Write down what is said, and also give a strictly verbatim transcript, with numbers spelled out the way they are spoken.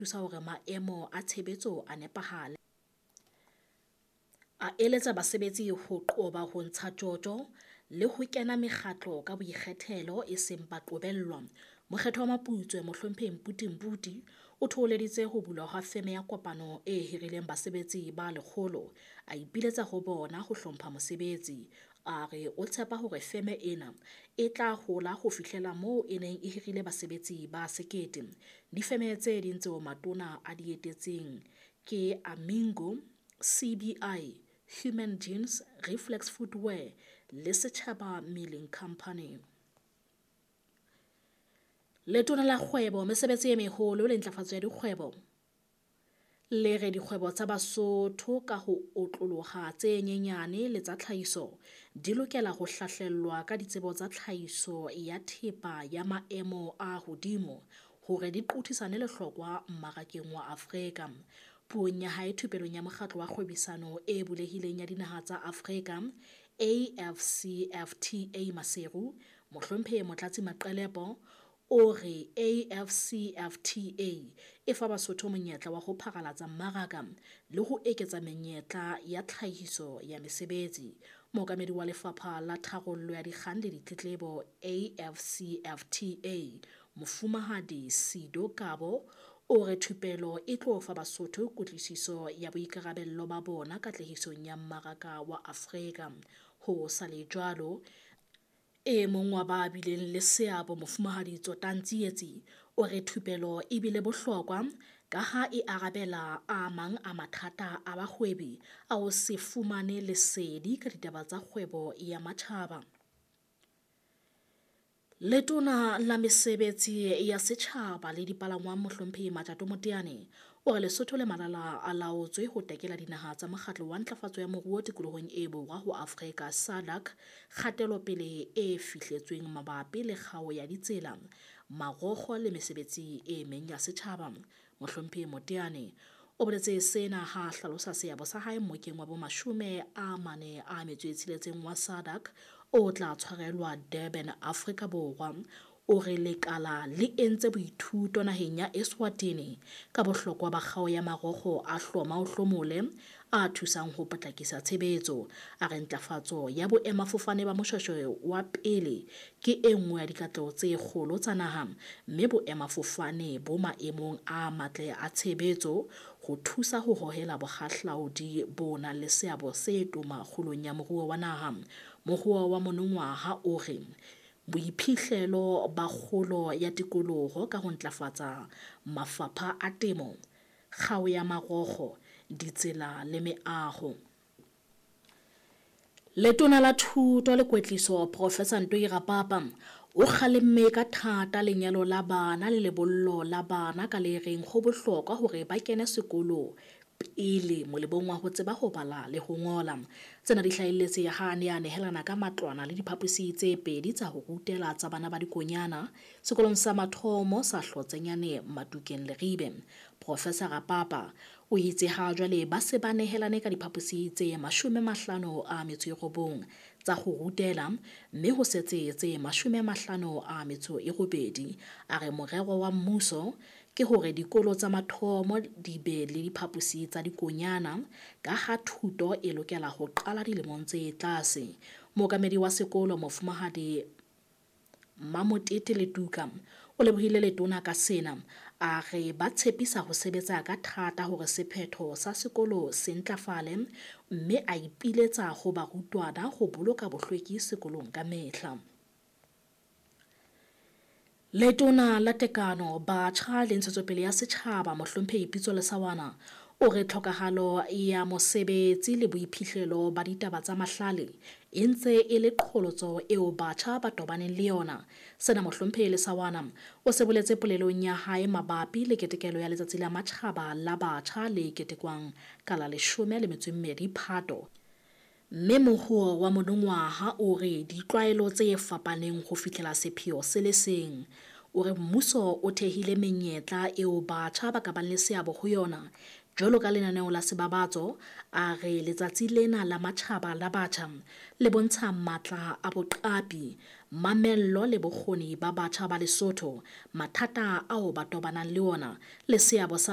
Thusa hore maemo a tshebetso a nepahale. A eletsa basebetsi ho qoba ho ntsha tjotjo le ho kena mekgatlo ka boikgethelo e seng ba qobellwa. Mokgethwa wa Maputswe Mohlomphehi Mputi Mputi o thoholeditse ho bulwa ha feme ya kopano e hirileng basebetsi ba lekgolo, a ipiletsa ho bona ho hlompha mosebetsi. A re o tshepa hore feme ena e tla hola ho fihlela moo e neng e hirile basebetsi ba sekete. Difeme tse ding tseo matona a di etetseng ke Amingo, C B I, Human Jeans, Reflex Footwear le Setjhaba Milling Company. Letona la kgwebo, mesebetsi e meholo le ntlafatso ya dikgwebo le re dikgwebo tsa Basotho ka ho otloloha tse nyenyane le tsa tlhahiso di lokela ho hlahlellwa ka ditsebo tsa tlhahiso ya thepa ya maemo a hodimo hore di qothisane lehlokwa mmarakeng wa Afrika. Puong ya hae thupelong ya mokgatlo wa kgwebisano e bulehileng ya dinaha tsa Afrika A F C F T A Maseru, Mohlomphehi Motlatsi Maqelepo o re A F C F T A e fa Basotho monyetla wa ho pharalatsa mmaraka le ho eketsa menyetla ya tlhahiso ya mesebetsi. Mookamedi wa lefapha la tharollo ya dikgang le ditletlebo A F C F T A Mofumahadi Sido Kabo o re thupelo e tlo fa Basotho kutlwisiso ya boikarabello ba bona katlehisong ya mmaraka wa Afrika. Ho sa le jwalo, e mong wa ba bileng le seabo Mofumahadi Tsotang Tsietsi o re thupelo e bile bohlokwa ka ha e arabela a mang a mathata a bahwebi a ho se fumane lesedi ka ditaba tsa kgwebo ya matjhaba. Letona la mesebetsi ya setjhaba le dipalangwang Mohlomphehi Matjato Moteane o re Lesotho le malala a laotswe ho tekela dinaha tsa mokgatlo wa ntlafatso ya moruo tikolohong e borwa ho Afrika SADC kgatelopele e fihletsweng mabapi le kgao ya ditsela, marokgo le mesebetsi e meng ya setjhaba. Mohlomphehi Moteane o boletse sena ha hlalosa seabo sa hae mmokeng wa bomashome a mane a metso e tsheletseng wa SADC o tla tshwarelwa Durban, Afrika Borwa. O re lekala le entse boithuto naheng ya Eswatini ka bohlokwa ba kgao ya marokgo a hloma o hlomole a thusang ho potlakisa tshebetso. A re ntlafatso ya boemafofane ba Moshoeshoe wa pele ke e nngwe ya dikatleho tse kgolo tsa naha, mme boemafofane bo maemong a matle a tshebetso ho thusa ho hohela bohahlaudi bo nang le seabo se toma kgolong ya moruo wa naha. Moruo wa monongwaha o re boiphihlelo ba kgolo ya tikoloho ka ho ntlafatsa mafapha a temo, kgao ya marokgo, ditsela le meaho. Letona la Thuto le Kwetliso Professor Ntoi Rapapa o kgalemme ka thata lenyalo la bana le lebollo la bana ka le reng ho bohlokwa hore ba kene sekolo pele molemong wa ho tseba ho bala le ho ngola. Tsena di hlahelletse ha a ne a nehelana ka matlwana le diphaposi tse pedi tsa ho rutela tsa bana ba dikonyana sekolong sa mathomo sa Hlotsenyane Matukeng Leribe. Professor Rapapa o itse ha jwale ba se ba nehelane ka diphaposi tse mashome mahlano a metso e robong tsa ho rutela, mme ho setse tse mashome mahlano a metso e robedi. A re morero wa mmuso ke hore dikolo tsa mathomo di be le diphaposi tsa dikonyana ka ha thuto e lokela ho qala dilemong tse tlase. Mookamedi wa sekolo Mofumahadi Mamotete Letuka o lebohile letona ka sena, a re ba tshepisa ho sebetsa ka thata hore sephetho sa sekolo se ntlafale, mme a ipiletsa ho barutwana ho boloka bohlweki sekolong ka mehla. Letona la Tekano, Batjha le Ntshetsopele ya Setjhaba Mohlomphehi Pitso Lesawana o re tlhokahalo ya mosebetsi le boiphihlelo ba ditaba tsa mahlale e ntse e le qholotso eo batjha ba tobaneng le yona. Sena Mohlomphehi Lesawana o se boletse polelong ya hae mabapi le ketekelo ya letsatsi la matjhaba la batjha le ketekwang ka la leshome le metso e mmedi Phato. Mme mohuo wa monongwaha o re ditlwaelo tse fapaneng ho fihlela sepheo se le seng. O re mmuso o thehile menyetla eo batjha ba ka bang le seabo ho yona jwalo ka lenaneo la sebabatso. A re letsatsi lena la matjhaba la batjha le bontsha matla a boqapi, mamello le bokgoni ba batjha ba Lesotho, mathata ao ba tobanang le ona le seabo sa